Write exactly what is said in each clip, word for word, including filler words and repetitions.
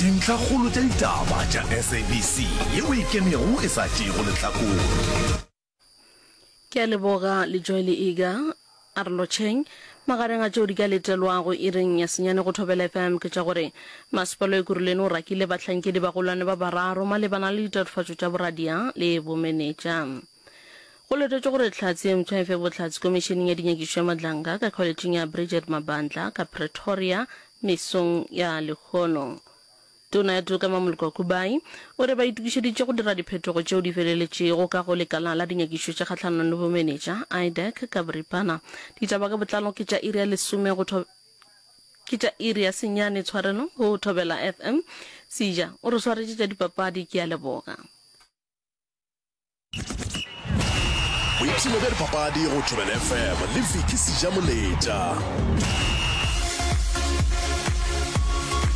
Dintlhakgolo tša ditaba tša S A B C yeo e ikemego e sa tšeego lehlakore. Ke a leboga Lejoe le Iga. A re lotšheng. Magareng a tšeo di ka letelwago iring ya senyane go Thobela F M ke tša gore Masepala wa Ekurhuleni o rakile bahlankedi bagolwane ba bararo malebana le ditatofatšo tša boradia le bomenetša. Go letetšwe gore Hlatse ye mpsha e fe bohlatse Komišeneng ya Dinyakišišo ya Madlanga ka Kholetšeng ya Bridget Mabandla ka Pretoria mesong ya lehono. Tona ya Toka Mamoloko Kubayi o re ba itokišeditše go dira diphetogo tšeo di feleletšego ka go Lekala la Dinyakišišo tša Kgahlanong le Bomenetša, I D A C, ka boripana. Ditaba ka botlalo ke tša iri ya lesome go ke tša iri ya senyane tshwarelo go Thobela F M. Seja o re swaretše tša dipapadi, ke a leboga. Boipshino bja dipapadi go Thobela F M le Vicky Sejamoletša.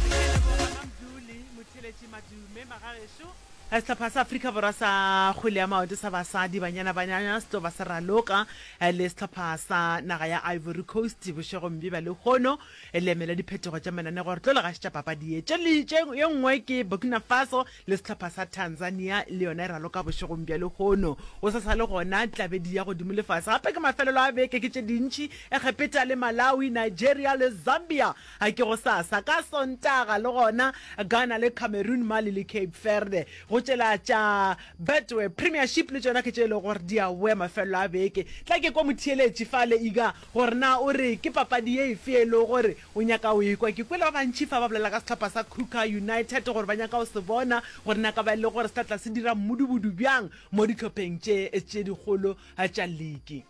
Ke a leboga Mamduli Motheletši Madume magagešo. Sehlopha sa Afrika Borwa sa kgwele ya maoto sa basadi Banyana Banyana se tlo ba se raloka le sehlopha sa naga ya Ivory Coast bošegong bja lehono le emela diphetogo tša mananego. Re tlo le gašetša papadi ye. Tše le tše ye nngwe ke Burkina Faso le sehlopha sa Tanzania le yona e raloka bošegong bja lehono. Go sa sa le gona tlabedi ya godimo le fase gape ke mafelelo a beke ke tše dintši Egepeta le Malawi, Nigeria le Zambia a ke gosasa ka Sontaga le gona Ghana le Cameroon, Mali le Cape Verde. Go tšela tša Betway Premiership le tšona ke tše e lego gore di a boya mafelelo a beke. Tla ke kwa motheeletši fale Iga gore na o re ke papadi ye efe e lego gore o nyaka o ekwa. Ke kwele ba bantši fa ba bolela ka sehlopha sa Kruger United gore ba nyaka go se bona gore na ka ba e le gore se tla tla se dira mmudubudu bjang mo dihlopheng tše tše dikgolo tša liki.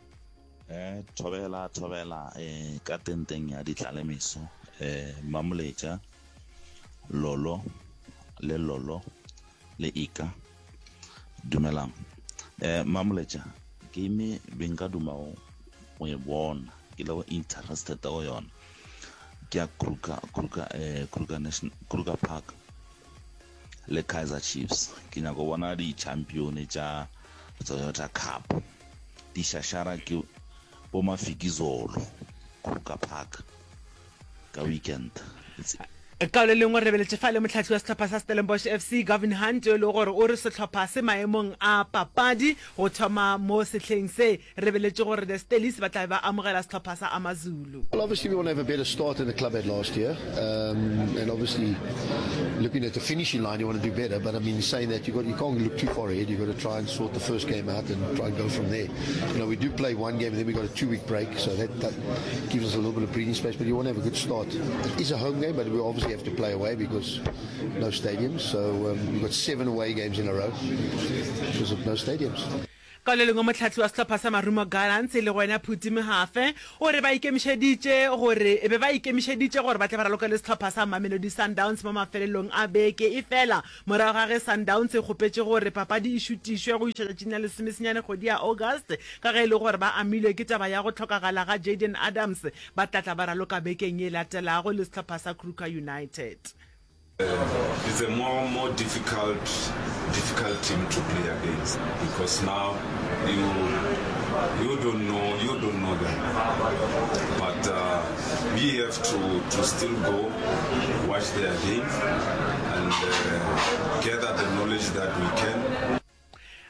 Eh, thobela thobela eh ka tenteng ya ditlalemeso eh Mamoletša Lolo le Lolo le Ika, dumelang. eh Mamoletša, game be nka duma go e bona ke le go interested go yona ke ya Kruger Kruger eh Kruger National Kruger Park le Kaizer Chiefs. Ke nyaka go bona di-champion tša Toyota Cup di šašara ke bo Mafikizolo Kruger Park ka weekend. It's Ka le lengwe re lebeletše fa le mohlahli wa sehlopha sa Stellenbosch F C Gavin Hunt yo e lego gore o re sehlopha se maemong a papadi go thoma mo sehleng se. Re lebeletše gore the Stellies ba tla be ba amogela sehlopha sa AmaZulu. Well, obviously we want to have a better start than the club had last year, um, and obviously looking at the finishing line, you want to do better. But I mean, saying that, you got you can't look too far ahead. You've got to try and sort the first game out and try and go from there. You know, we do play one game and then we got a two-week break, so that, that gives us a little bit of breathing space. But you want to have a good start. It is a home game, but we obviously have to play away because no stadiums. So um, we've got seven away games in a row because of no stadiums. Ka le lengwe mohlahli wa sehlopha sa Marumo Gallants e lego yena Phuti Mohafe o re ba ikemišeditše gore be ba ikemišeditše gore ba tle ba raloke le sehlopha sa Mamelodi Sundowns mo mafelelong a beke, efela morago ga ge Sundowns e kgopetše gore papadi e šutišwe go iša tšatšing la lesomesenyane kgwedi ya August ka ge e le gore ba amilwe ke taba ya go hlokagala ga Jayden Adams, ba tla tla ba raloka bekeng ye latelago le sehlopha sa Kruger United. It's a more more difficult difficult team to play against because now you you don't know you don't know them, but uh, we have to to still go watch their game and uh, gather the knowledge that we can.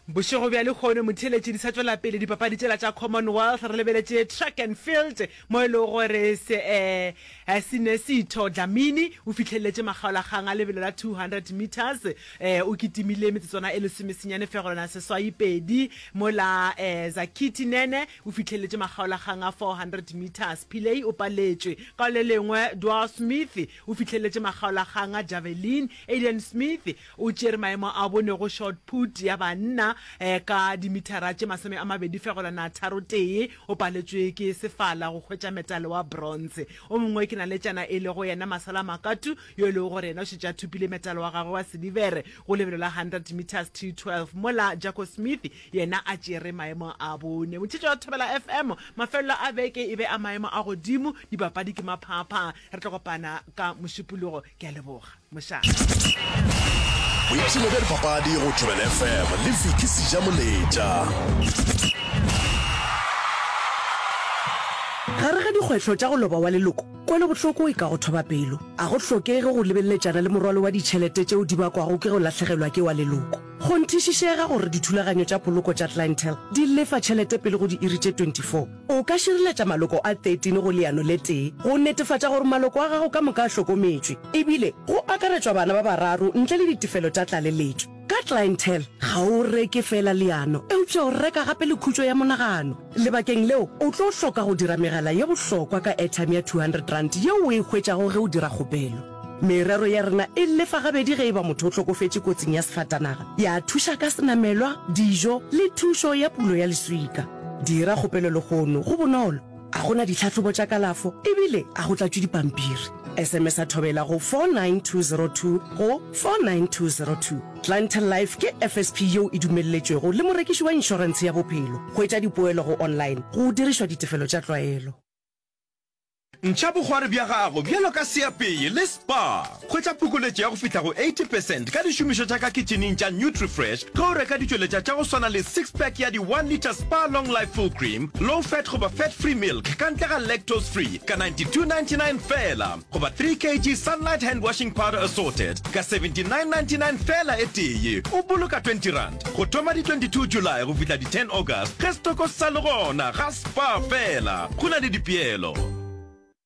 Bošego bja lehono motheeletši di sa tšwela pele dipapadi tšela tša Commonwealth. Re lebeletše track and field mo e lego gore se eh, Sinesitho Dlamini o fihleletše makgaolakgang a lebelo la two hundred meters, eh, o kitimile metsotswana e lesomesenyane fegelwana seswai pedi, mola eh, Zakithi Nene o fihleletše makgaolakgang a four hundred meters. Pillay o paletšwe. Ka le lengwe Dwar Smith o fihleletše makgaolakgang a javelin. Aiden Smith o tšere maemo a bone go shot put ya banna eh, ka dimithara tše masome a mabedi fegelwana tharo tee, o paletšwe ke sefala go hwetša metale wa bronze. O mongwe ke naletšana e lego yena Masala Makatu yo e lego gore yena o šetše a thopile metale wa gagwe wa silivere go lebelo la hundred meters T twelve, mola Jaco Smith yena a tšere maemo a bone. Motšhetšo wa Thobela F M, mafelelo a beke e be a maemo a godimo, dipapadi ke maphapha. Re tlo kopana ka Mošupologo, ke a leboga mošate. Boipshino bja dipapadi go Thobela F M le Vicky Sejamoletša. Gare ga dikgwetlho tša go loba wa leloko Kwelobohloko e ka go thoba pelo. A go hlokege go lebeleletšana le morwalo wa ditšhelete tšeo di bakwago ke go lahlegelwa ke wa leloko. Kgonthišišega gore dithulaganyo tša poloko tša Clientele di lefa tšhelete pele go diiri tše twenty four. O ka šireletša maloko a thirteen go leano le tee go netefatša gore maloko a gago ka moka a hlokometšwe, ebile go akaretšwa bana ba bararo ntle le ditefelo tša tlaleletšo. Ka Clientele, ga o reke feela leano, eupša o reka gape le khutšo ya monagano. Lebakeng leo, o tlo hloka go dira megala ye bohlokwa ka airtime ya two hundred rand yeo o e hwetšago ge o dira kgopelo. Merero ya rena e lefa gabedi ge e ba motho o hlokofetše kotsing ya sefatanaga, ya thuša ka senamelwa, dijo le thušo ya pulo ya leswika. Dira kgopelo lehono, go bonolo, a go na ditlhahlobo tša kalafo ebile a go tlatšwe dipampiri. S M S a Thobela go four nine two zero two go four nine two zero two. Clientele Life ke F S P yeo e dumelletšwego le morekiši wa inšorentshe ya bophelo. Hwetša dipoelo go online go dirišwa ditefelo tša tlwaelo. Ntšha bokgwari bja gago bjalo ka seapei le Spar. Hwetša phokoletšo ya go fihla go eighty percent ka dišomišwa tša ka kitšhining tša Nutrifresh ge o reka ditšweletša tša go swana le six pack ya di one litre Spar Long Life Full Cream, Low Fat goba Fat Free Milk ka ntle ga Lactose Free ka ninety two ninety nine feela goba three K G Sunlight Hand Washing Powder Assorted ka seventy nine ninety nine feela e tee, o boloka twenty rand. Go thoma di twenty two July go fihla di ten August ge setoko se sa le gona ga Spar feela. Go na le dipeelo.